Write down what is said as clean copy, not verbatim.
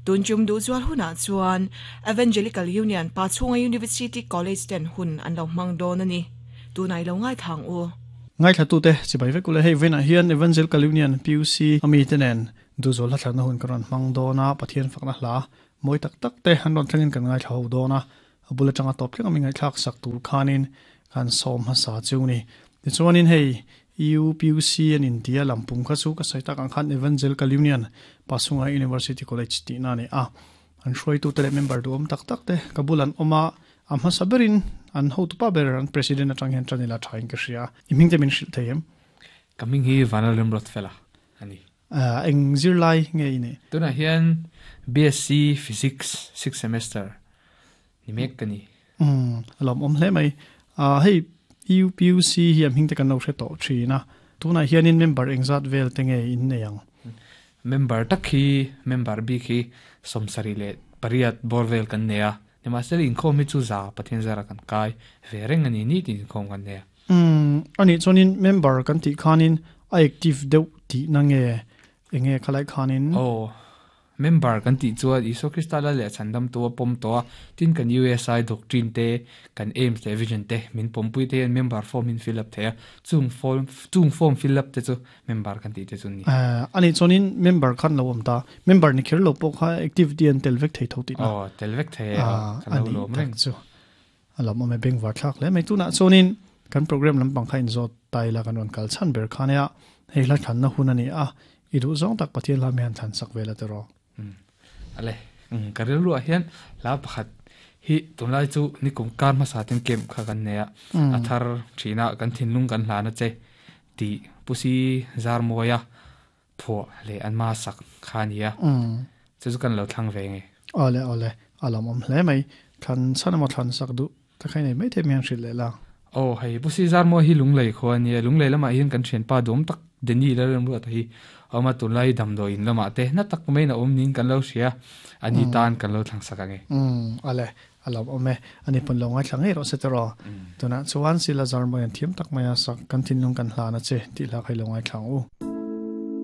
Tun tum duhzual hunah chuan Evangelical Union Pachhunga University College ten hun an lo hmang dawn a ni. Tunah i lo ngaithla ang u. Ngaithlatute chibai vek ule hei vawiinah hian Evangelical Union PUC a mite nen duhzual hla thlanna hun kan rawn hmang dawn a, Pathian fakna hla mawi tak tak te an rawn thlengin kan ngaithla ho dawn a, a bul atanga tawp thleng a mi ngaihthlak sak tur khanin kan sawm hmasa chu ni. Tichuanin hei EUPUC an intia lampum kha chu ka sawi tak ang khan Evangelical Union Pasunga University College tihna a ni a. An hruaitute leh member duhawm tak tak te ka bul an awm a, a hmasa berin an hotupa ber an president atang hian tan ila thain ka hria. I hming te min hrilh thei em? Ka hming hi Vanlalremruatfela a ni. Eng zirlai nge i nih? Tunah hian BSc Physics sixth semester ni mek ka ni. Umm, a lawmawm hle mai. Hei UPUC hi a hming te kan lo hre tawh thin a, tunah hianin member engzat vel te nge in nei ang? Member tak hi, member bik hi 78 bawr vel kan nei a, nimahsela inkhawm hi chu za Pathian zara kan kai ve reng a ni, nitin inkhawm kan nei a. Umm, anih chuanin member kan tih khanin a active deuh tihna nge enge khalai khanin? Aw, member kan tih chuan Isua Krista lal leh chhandam tu a pawm tawh a, tin kan USI doctrine te, kan aims leh vision te min pawmpui te hian member form hi an fill up thei a, chung form chung form fill up te chu member kan tih te chu an ni. Eh, anih chuanin member khan lo awm ta, member ni kher lo pawh kha activity an tel vek thei tho tihna? Aw, tel vek thei e, aw, kan lo lawm reng. Anih tak chu. A lam awm e bengvar thlak hle mai. Tunah chuanin kan program lampang kha inzawt ta ila kan rawn kal chhan ber kha nia. Hei hla thlanna hun a ni a, i duh zawng tak Pathian hla mi han thlan sak vel a tiraw? Umm ale, umm ka rilruah hian hla pakhat hi tunlai chu nikum kar hmasa ten camp kha kan nei a, a thar thina kan thinlung kan hlan a che tih Pusi Zarmawia phuah leh an ma sak kha a ni a, chu chu kan lo thlang ve nge. Awle awle, a lawmawm hle mai. Thlan chhan emaw thlan sak duh ta kha i nei maithei mai ang hrilh leh la. Aw hei, Pu Sizar maw hi Lunglei khua a nia, Lunglei lamah hian kan thianpa duam tak Danny Lalremruata hi a awm a, tunlai damdawi in lamah te hna tak maiin a awm niin kan lo hria, a ni tan kan lo thlang sak ang e. Umm, awle, a lawmawm e. Ani pawn lo ngaithla ngei rawh se tiraw. Tunah chuan Sila Zarmawian thiam tak maia sak kan thinlung kan hlan a che tih hla kha i lo ngaithla ang u.